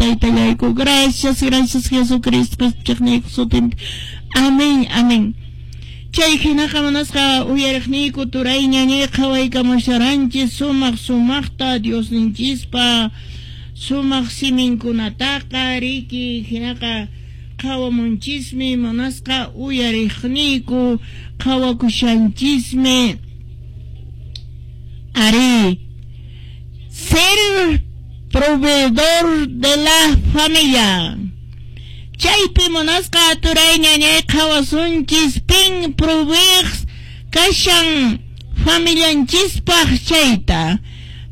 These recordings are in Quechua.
Taytallayku. Gracias, gracias Jesucristo qespichiqniyku sutinpi. Amén, amén. Chay hinaqa munasqa uyariqniyku turay ñañay qhawaykamusharanchis sumaq sumaqta Diosninchispa sumaq siminkunataqa riki hinaqa qhawamunchismi munasqa uyariqniyku qhawakushanchismi ari ser proveedor de la familia. Chaypi munasqa turay ñañay qhawasunchis pin proveeq kashan familianchispaq chayta.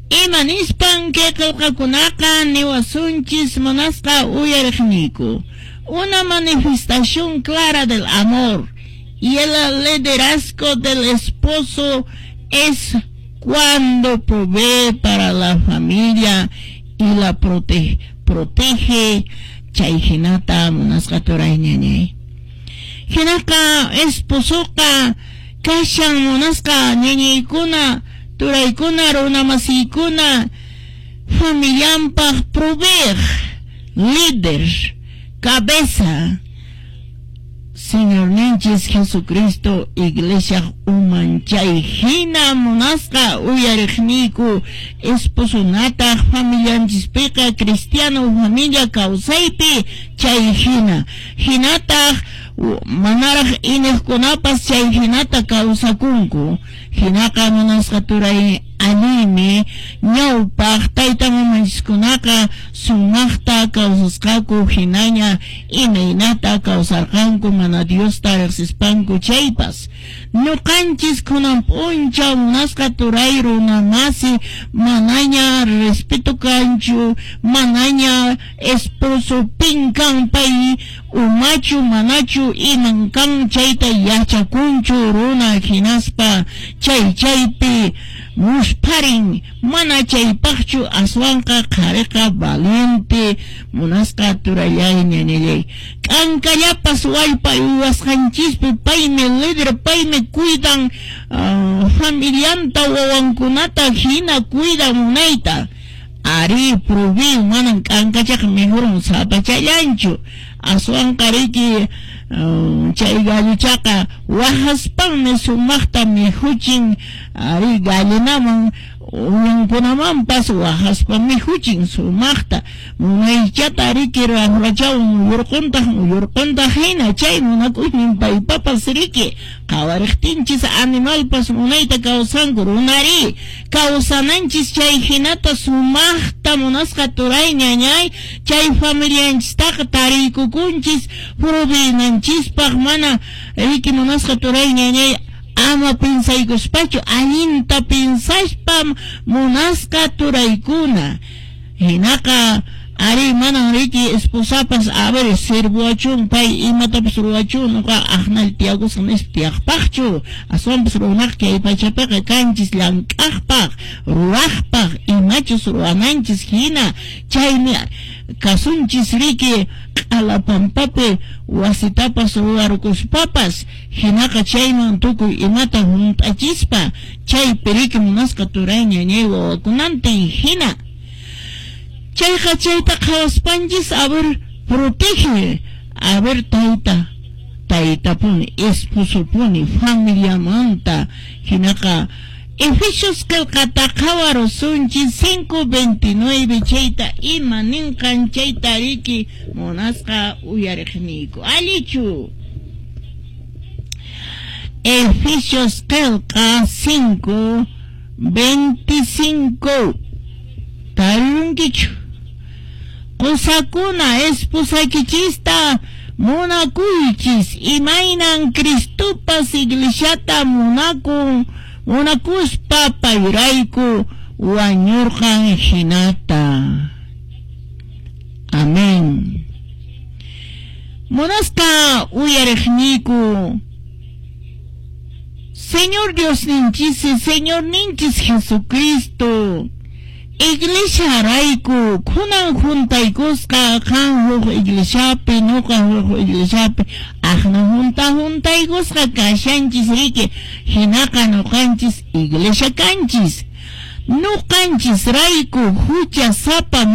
Ima nispan kay qillqakunaqa niwasunchis munasqa uyariqniyku. Una manifestación clara del amor y el liderazgo del esposo es cuando provee para la familia y la protege chay hinata munasqa turay ñañay. Hinaqa esposoqa kashan munasqa ñañaykuna turaykuna runamasiykuna familianpaq proveeq líder cabeza Señorninchis Jesucristo iglesia uman chay hina munasqa uyariqniyku esposonataq familianchispiqa cristiano familia kawsaypi chay hina hinataq manaraq iniqkunapas chay hinata kawsakunku hinaqa munasqa turay allinmi ñawpaq tayta mamanchiskunaqa sumaqta kawsasqaku hinaña imaynata kawsarqanku mana Diosta riqsispanku chaypas ñuqanchis kunan p'unchaw munasqa turay runamasi manaña respeto kanchu manaña esposo pin kan pay umachu manachu iman kan chayta yachakunchu runa hinaspa chay chaypi muspharin mana chaypaqchu aswanqa qhariqa valiente munasqa turallay ñañallay k'ankallapas wallpa uywasqanchispi paymi líder paymi cuidan familianta wawankunata hina cuidan munayta ari provee manan k'ankachaqa mejorun sapachallanchu aswanqa riki chay galluchaqa waqaspanmi sumaqta mikhuchin ari gallinaman uyankunamanpas waqaspa mikhuchin sumaqta munaychata riki raqrachawan muyurquntaq muyurquntaq hina chay munakuynin paypapas riki qhawariqtinchis animalpas munayta kawsanku runari kawsananchis chay hinata sumaqta munasqa turay ñañay chay familianchistaqa tariykukunchis proveenanchispaq mana riki munasqa turay ñañay ama pinsaykuspachu allinta pinsaspa munasqa turaykuna hinaqa ari manan riki esposapas a ver sirvuachun pay imatapas ruwachun nuqa aqnal tiyakusqa nispa tiyaqpaqchu aswanpas runaqa kay pachapiqa kanchis llank'aqpaq ruwaqpaq imachus ruwananchis hina chaymi kasunchis riki q'ala pampapi wasitapas ruwarukuspapas hinaqa chayman tukuy imata hunt'achispa chaypi riki munasqa turay ñañay wawakunantin hina chayqa chayta qhawaspanchis a ver protege a ver tayta taytapuni esposopuni familiamanta hinaqa Efesios qillqata qhawarusunchis 5:29 chayta ima ninqan chayta riki munasqa uyariqniyku allichu Efesios qillqa 5:25 tarirunkichu qusakuna esposaykichista munakuychis imaynan Cristopas iglesiata munakun munakuspa payrayku wañurqan hinata. Amén. Munasqa uyariqniyku Señor Diosninchis, Señorninchis Jesucristo Iglesia rayku kunan juntaykusqa qan huk iglesiapi nuqa huk iglesiapi aqna junta juntaykusqa kashanchis riki hinaqa nuqanchis iglesia kanchis nuqanchis rayku hucha sapa.